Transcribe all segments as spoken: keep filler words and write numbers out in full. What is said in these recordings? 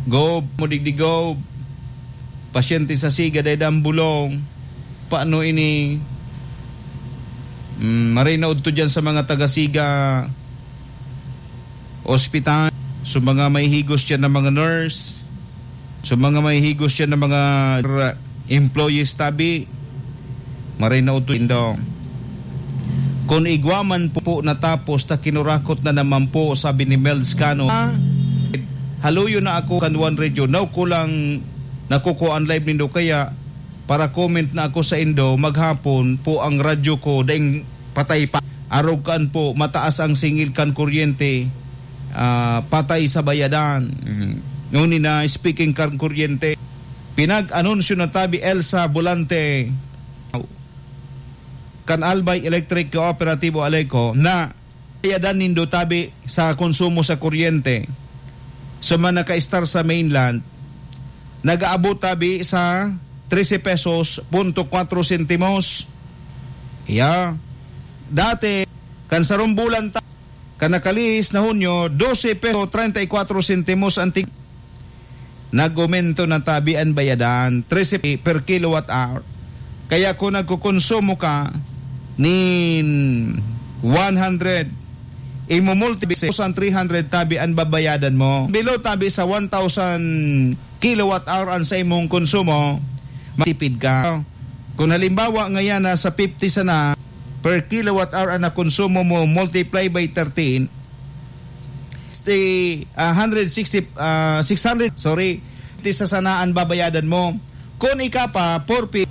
Gob, mo digdi Gob. Pasyente sa Siga, dai dang bulong. Paano ini? Mm, maray na udto dyan sa mga taga Siga Hospital. So, mga may higos dyan na mga nurse. So, mga may higos dyan na mga r-, employees tabi. Maray na udto indo. Kun igwa man po, po natapos ta kinurakot na naman po, sabi ni Melds Cano. Ah, haluyo na ako kan One Radio. Now ko lang nakukuha ang live nindo, kaya para comment na ako sa indo, maghapon po ang radyo ko, daing patay pa. Arog kaan po, mataas ang singil kan kuryente, ah, patay sa bayadan. Mm. Ngunit na speaking kan kuryente, pinag-anunsyo na tabi Elsa Volante kan Albay Electric Cooperativo Aleco na bayadan nindo tabi sa konsumo sa kuryente. Sa mga naka-star sa mainland, nag-aabot tabi sa trese pesos punto kwatro sentimos. Yeah. Dati, kan sarong bulan ta-, kan nakalihis na Hunyo, dose peso treinta y cuatro sentimos ang tig-, nag-aumento na tabi an bayadan, trese per kilowatt hour. Kaya kung nagkukonsumo ka nin one hundred, imumultiply sa three hundred tabi an babayadan mo. Below tabi sa one thousand kilowatt hour an sa imong konsumo, matipid ka. Kung halimbawa, ngayon nasa fifty sana per kilowatt hour ang nakonsumo mo, multiply by thirteen, sixty, ah, hundred sixty, ah, six hundred, sorry, fifty sa sana an babayadan mo. Kung ika pa, four fifty.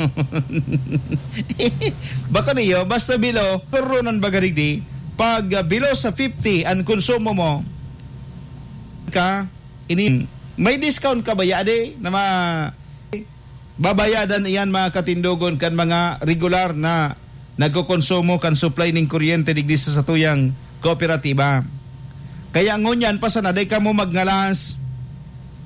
Bako niyo, basta below, turunan baga digdi, pag, ah, below sa fifty an konsumo mo, ka, ini, may discount ka ba ya, ade, na ma-, babayadan iyan, mga katindogon, kan mga regular na nagkokonsumo kan supply ning kuryente digdi sa satuyang kooperatiba. Kaya ngunyan pa sana, dai kamo magngalas.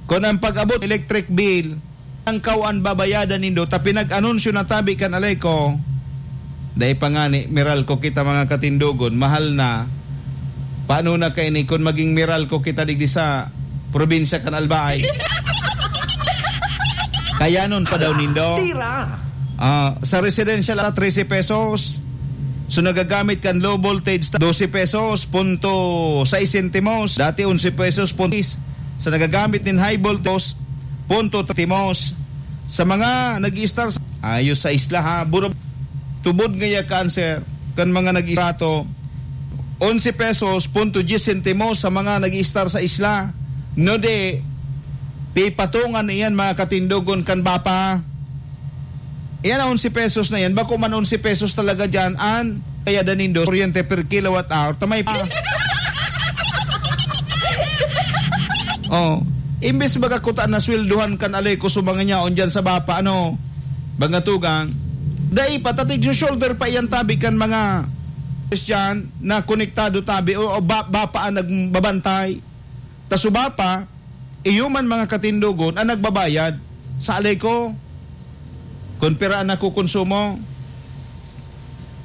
Kun ang pag-abot electric bill, ang kawan babayadan nindo, ta pinag-anunsyo na tabi kan Aleco, dai pa ngani, Meralco kita, mga katindogon, mahal na. Paano na kaini kun maging Meralco kita digdi sa probinsya kan Albay? Kaya nun pa daw nindo. Tira! Ah, sa residential, ah, trese pesos. So, nagagamit kan low voltage, dose pesos, punto sais sentimos. Dati, onse pesos, punto sais. Sa nagagamit nin high voltage, punto sentimos. Sa mga nag-i-star sa, ayos sa isla, ha, buro, tubod ngaya cancer, kan mga nag-i-star to, onse pesos, punto diyes sentimos sa mga nag-i-star sa isla. No de, pipatungan na iyan, mga katindogon, kan BAPA. Iyan ang onse pesos na yan. Bako man onse pesos talaga dyan an kaya danindo kuryente per kilowatt hour. Tamay pa. Oh, imbes baga kuta na sweldohan kan Aleco sa mga nyaon dyan sa BAPA, ano, mga tugang, dai pa, tatig shoulder pa iyan tabi kan mga Christian na konektado tabi o, o ba-, BAPA ang nagbabantay. Ta sa BAPA, iyo man, mga katindogon, ang nagbabayad sa Aleco. Kun pira ang nakukonsumo.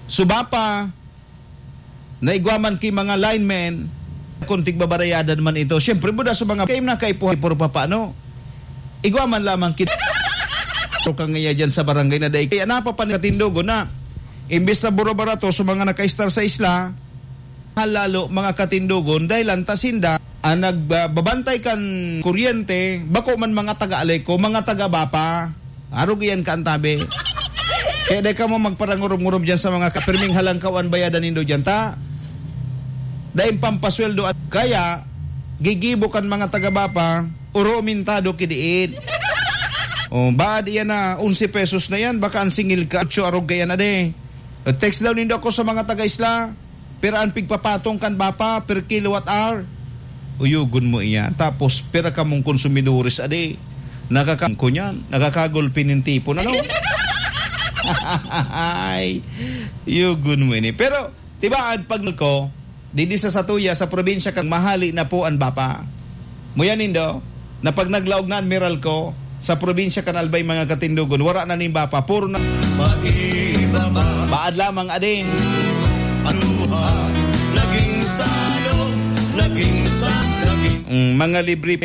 Sa BAPA, na igwa man ki mga linemen, kung tigbabarayadan man ito, siyempre, buda sa mga kaim na kaipuhan, puro papano. Igwa man lamang ki-, pero kang iya dyan sa barangay na dai. Kaya napapan-, katindogon na, imbis na buro-barato sa mga naka-star sa isla, halalo, mga katindogon, dahil ang tasinda, ang nagbabantay kan kuryente, bako man mga taga-Aleco, mga taga-BAPA. Arog iyan ka antabi. Kaya dai kamo magparangurob-ngurob dyan sa mga kapirming halangkaw an bayadan nindo dyan, ta? Dai pampasweldo at kaya, gigibo kan mga taga-BAPA, oro mintado kidiin. Oh, baad iyan na, onse pesos na yan, baka ang singil ka, otso, arog kaya na de. Text daw nindo ako sa mga taga-isla. Pira an pigpapatong kan BAPA per kilowatt hour? Uyogon mo iyan. Tapos, pira kamong konsumidores, adi? Nakaka-, ko niyan, nakakagulpi nin tipon, ano? Ay, uyogon mo ini. Pero, tibaad, pag ko, didi sa satuya, sa probinsya kan, mahali na po an BAPA. Muya nindo, na pag naglaog na an Meralco sa probinsya kan Albay, mga katindogon, wara na nin BAPA, puro na Pag-ibaba. Baad lamang, ading. Paluha, naging salo, naging sa, naging Mm, mga libre